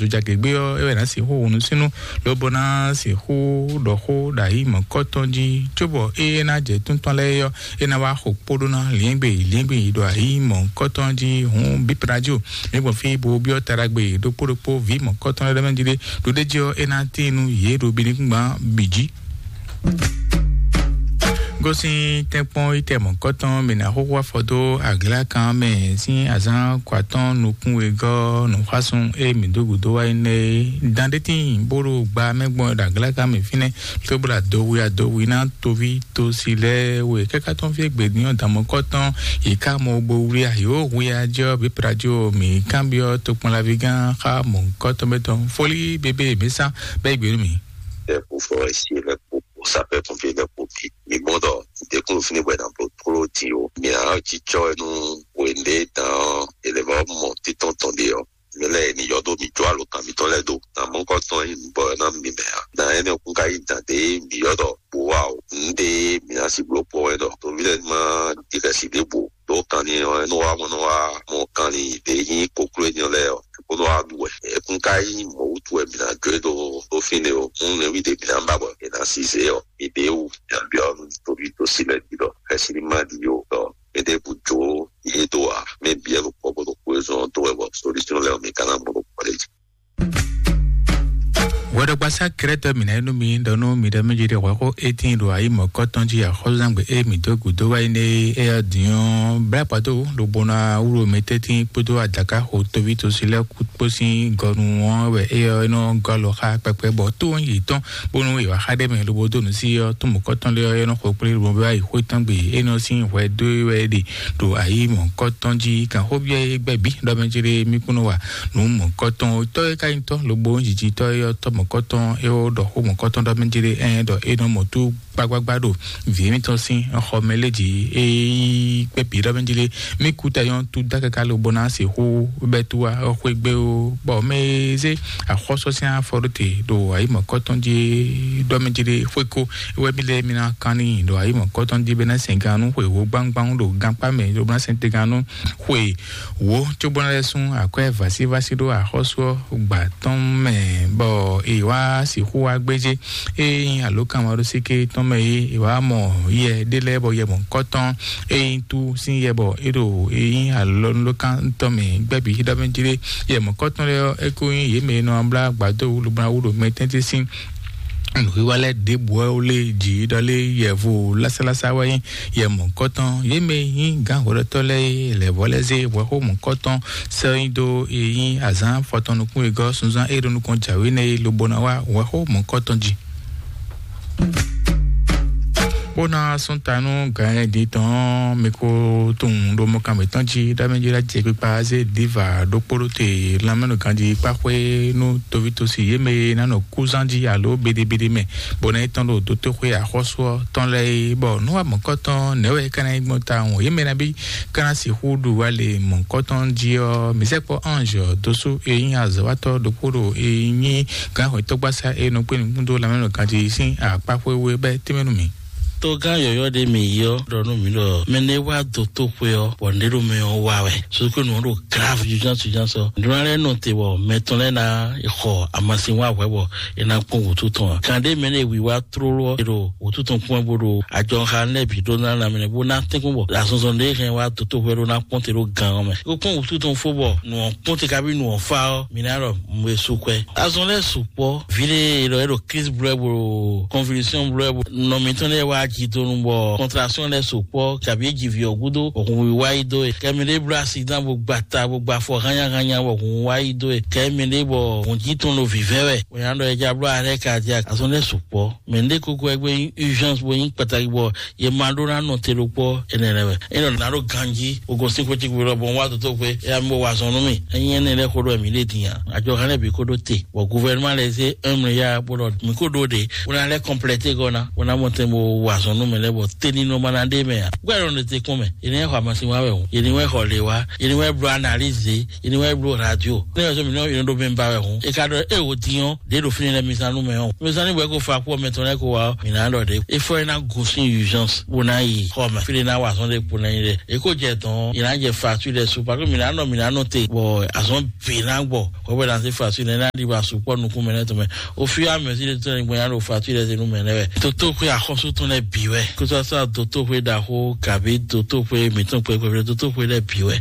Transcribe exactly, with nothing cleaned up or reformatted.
Dojagěgbe ɔ́, é wɛ ná sixú hun nusúnnú, lobo ná sixú ɖɔ xó ɖo ayi mɔ̌kɔtɔn jí, cóbɔ ée ná jɛ tún tɔn lɛ́ɛ ɔ́, é ná wá xo kpóɖó ná liɛ́ngbè liɛ́ngbè ɖo ayi mɔ̌kɔtɔn jí. Hǔn bípradio, mǐ gbɔn fí bo byɔ́ taɖagbe ɖokpó ɖokpó vǐ mɔ̌kɔtɔn lɛ́ɛ ɖ'é mɛ jí ɖé, ɖo ɖ'é jí ɔ́, é ná tín nú yě ɖo bǐníkúngban bǐ jí. Gosín tɛ́nkpɔ́n yi tɛ mɔ̌kɔtɔn mǐ ná xóxó afɔ dó aglákan mɛ sín azǎn kɔ atɔ́ɔ́n nukún wegɔ́ nǔxásún e mǐ dó gǔdo wá yi nɛ́ é. Dan ɖé tíin bó ɖo gba mɛ gbɔn ɖo aglákan mɛ fínɛ́, cóbó ɖo adowi adowi ná toví tosi lɛ́ɛ we. Káká tɔn fí e gbědín ɔ́, dan mɔ̌kɔtɔn yi ká mɔ bo wlí ayǒ hwia jɔ bǐ prajo mǐ kanbyɔ́ tokpɔnlaví gán xá mɔ̌kɔtɔn bɛ́ tɔn. Fólí bébé mǐ sán bɛ́ gbě nú mǐ. Ɛ kú fɔ esi lɛ kpo kpo sapɛ kɔnfie lɛ kpo bi. Mi gbɔn dɔ dekun fini bɔ na blo klo di o. Mi a ci tsɔ nu wende dan elevɔ mɔ titɔn tɔn de ɔ. Mi lɛ ni yɔ do mi jo alo kan mi tɔn lɛ do. Na mɔ kɔ tɔn yi bɔ na mi mɛ a. Na ene kun ka yi dan de mi yɔ dɔ bo wa o. Nde mi na si blo po wɛ dɔ. To mi lɛ ma di ka si de bo. Do kan ni ɔ, no wa mo no wa mo kan ni de yi koklo ni lɛ ɔ. Ko no wa du wɛ. E kun ka yi mo wutu wɛ mi na jo do do fine o. Mun ne wi de mi na ba bɔ. E na si ze ɔ. Mi de wu. Ya bi ɔ nu to bi to si lɛ di dɔ. Kasi ni ma di yo dɔ. Ede bu jo ye do wa. Me bi ɛ lo kpɔ bo do ko ezɔn do wɛ bɔ. Solution lɛ o mi kana mo do kpɔ le. Wɛɖɔgbasá Krɛtɔ mǐ ná yi nú mi ɖɔ nú mi ɖɔ mí jí ɖe hwɛxó étín ɖo ayi mɔ̌kɔtɔn jí axɔ́zúzángbe e mǐ dó gǔdo wá yi nɛ é ɔ́ din ɔ́, blá kpado lobo ná wlú mi tɛ́ntin kpódó adǎká xo tóví tosi lɛ́ɛ kú kpó sín gɔnu ɔ́ wɛ é ɔ́ é nɔ gɔ́ alɔ xá kpɛkpɛ bɔ tó ɔ́ yi tɔn bónú è wǎ xá ɖé mɛ lobo dó nǔ sí ɔ́, tó mɔ̌kɔtɔn lé ɔ́ é nɔ xo kplé lobo wá yi xwé tɔn gbe é nɔ sín hwɛ dó wɛ é ɖe ɖo ayi mɔ̌kɔtɔn jí. Kan xó byɔ́ é gbɛ́ bǐ ɖɔ mɛ jí ɖe mí kún nɔ wa nǔ mɔ̌kɔtɔn. Tɔ́ e ka nyí tɔ́ lobo jijitɔ́ e ɔ́, tɔ́ mɔ̌kɔtɔn é ó ɖɔ xó mɔ̌kɔtɔn ɖɔ mɛ jí ɖe ɛn ɖɔ é nɔ mɔ tú gbagbagba ɖo vǐ émítɔn sín xɔ mɛ lé jí é yí kpɛ́ bǐ ɖɔ mɛ jí ɖe mí kú tayɔ́n tú dá káká lobo ná se xó bɛ́ tú wá xwé gbé ó. Bɔ mɛ e zé axɔ́sɔ sín afɔ ɖó te ɖo ayi mɔ̌kɔtɔn jí ɖɔ mɛ jí ɖe xwé kó é wɛ mí lɛ́ mí ná kán n'i ɖo ayi mɔ̌kɔtɔn jí bɛ́ ná sɛn gannú xwe wǒ gbáŋgbáŋ ɖo gankpá mɛ lobo ná sɛn te gannú xwe wǒ cóbó ná lɛ́ sún akwɛ́ vǎsívásí ɖó axɔ́sú ɔ́ gbà tɔn mɛ, bɔ è wá sixú wá gbéjé. Ényí alǒkanmaɖósíké tɔn mɛ é è wá mɔ yɛ ɖé lɛ́ɛ bɔ yɛ mɔ̌kɔtɔn é nyí tú sín yɛ bɔ é ɖo é nyí alɔnulókan tɔn mɛ gbɛ́bí ɖɔ mɛ jí ɖé. Yɛ mɔ̌kɔtɔn lɛ́ɛ ɔ́, é kó nyí yě mɛ e nɔ blá gbǎdó wúlubláwú ɖo mɛ tɛ́ntin sín nǔwiwa lɛ́ɛ ɖěbǔ ɔ́ lé jǐ ɖɔ lé yɛvo lásálásá wɛ nyí yɛ mɔ̌kɔtɔn. Yě mɛ e nyí gǎn hwɛɖɔtɔ́ lɛ́ɛ é lɛ̌ vɔ́ lɛ́ zé hwɛxó mɔ̌kɔtɔn sɛ́ nyi dó e nyí azǎn fɔtɔn nukún e gɔ́ sunzán e ɖo nukɔn jǎwe nɛ́ é lobo ná wá hwɛxó mɔ̌kɔtɔn jí. Bó ná sún ta nú gǎn e din tɔn ɔ́, mi ko tunwun ɖo mɔkan mǐtɔn jí ɖ'amɛ jí ɖ'ajɛ kpikpa zé diva ɖokpó ɖó te lanmɛnɔ ganjí kpáxwé nú tovítɔ́si yě mɛ e ná nɔ kúzán jí alo beɖebeɖe mɛ, bɔ ná yi tɔn ɖo dotoxwé axɔ́sú ɔ́ tɔn lɛ́ɛ é, bɔ nú amɔ̌kɔ́tɔn nɛ̌ wɛ é ka ná nyí gbɔn tawun? Yě mɛ nabí ka ná sixú ɖu wá le mɔ̌kɔ́tɔn jí ɔ́, mǐ sɛkpɔ́ ange dósú e nyí azɔ̌watɔ́ ɖokpó ɖo e nyí gǎnhwɛtɔ́gbasá e nɔ kpé nukún dó lanmɛnɔ ganjí sín akpá xwé wú é bɛ́ tɛ́nmɛ nú mǐ. Togán yɔ̌yɔ́ ɖé mǐ yi ɔ́ ɖɔ nú mǐ ɖɔ mɛ nɛ́ wá dó tóxwé ɔ́, bɔ nɖé ɖo mɛ ɔ́ wa wɛ. Sókè nǔ ɔ́ ɖo grave juján suján sɔ. Nǔɖé lɛ́ɛ nɔ te bɔ mɛ tɔn lɛ́ɛ ná xɔ amasin wá hwɛ̌ bɔ é ná kpɔ́n wǔtu tɔn ǎ. Kan ɖé mɛ lɛ́ɛ wiwa tlóló ɔ́, è ɖo wǔtu tɔn kpɔ́n bó ɖo ajɔxa lɛ́ɛ bǐ ɖó ná lanmɛ bó ná tɛ́nkpɔ́n bɔ azɔnzɔn ɖé hɛn wá dó tóxwé ɖó ná kpɔ́n te ɖó gan ɔ́ mɛ. É kó kpɔ́n wǔtu tɔn fó bɔ nǔ ɔ́ kpɔ́n te kabi nǔ ɔ́ fá ɔ́, mǐ ná ɖɔ mɛ su kwɛ. Azɔn lɛ́ɛ su kpɔ́. Vǐ ɖé e ɖɔ é ɖo crise blɛ́ bo convulsion blɛ́ bo nɔ mǐtɔn lɛ́ɛ wá jǐ donu bɔ contraction lɛ́ɛ su kpɔ́ kabi é ji vǐ ɔ́ gúdo, òhun wíwá yi dó e. Kɛ mɛ ɖé bló accident bo gba ta bo gba afɔ hányáhányá bɔ hun wá yi dó e. Kɛ mɛ ɖé bɔ hun jí tɔn ɖo vǐvɛ́ wɛ. Wɛ nya ɖɔ é já bló arrêt cardiaque. Azɔn lɛ́ɛ su kpɔ́. Mɛ ɖé kókó wɛ gbé nyí urgence bo nyí kpataki bɔ yě ma ɖó ná nɔ te ɖokpɔ́ énɛ́ lɛ́ɛ wɛ. É nɔ ná ɖo ganjí, o gosín xwé ce kúɖɔ bɔ un wá dó tó xwé, é yá mi bó wa zɔn nú mì. Ényí énɛ́ lɛ́ɛ xó ɖɔ mǐ ɖe din a? Àjọ hɛn lɛ́ɛ bǐ kó ɖó te, bɔ gouvernement lɛ́ɛ zé un milliard bó ɖɔ mǐ kó ɖó ɖe, bó ná lɛ́ compléter gɔ́ ná, bó ná mɔ tɛn bó wa zɔn nú mɛ lɛ́ɛ bɔ teni nɔ ma ná ɖe mɛ a? Gbɛ́ ɖɔ ɖe te kún mɛ, yě ní xɔ amasin wá wɛ hǔn, yě ní wɛ xɔ lě wá, yě ní wɛ bló analyse, yě ní wɛ bló radio. Ní wɛ sɔ mǐ nɔ yě nɔ ɖo mɛ ba wɛ hǔn. É ka ɖɔ é wò din ɔ́, ɖě ɖo fínɛ́ lɛ́ɛ mi zán nú mɛ ɔ́. Mi zán ní bɔ é ko fa kpó kpɔ mɛ tɔn lɛ ko wa ɔ, mi na ɖɔ ɖe. Efɔ yi na go sin urgence, wo na yi xɔ mɛ. Fi de na wa azɔn de kpo na yi de. E ko jɛ tɔn, yi na jɛ facture de su, parce que mi na nɔ, mi na nɔ te, bɔ azɔn bi na gbɔ. Kɔ bɛ na se facture ne na di ba su kpɔ nukun mɛ ne tɔn mɛ. O fi a mɛ si de tɔn ne gbɔ ya ɖo facture de se nu mɛ ne wɛ. Toto ko ya xɔsu tɔn lɛ bi wɛ. Ko sa sa toto ko da ko kabi toto ko mi tɔn ko ko toto ko lɛ bi wɛ.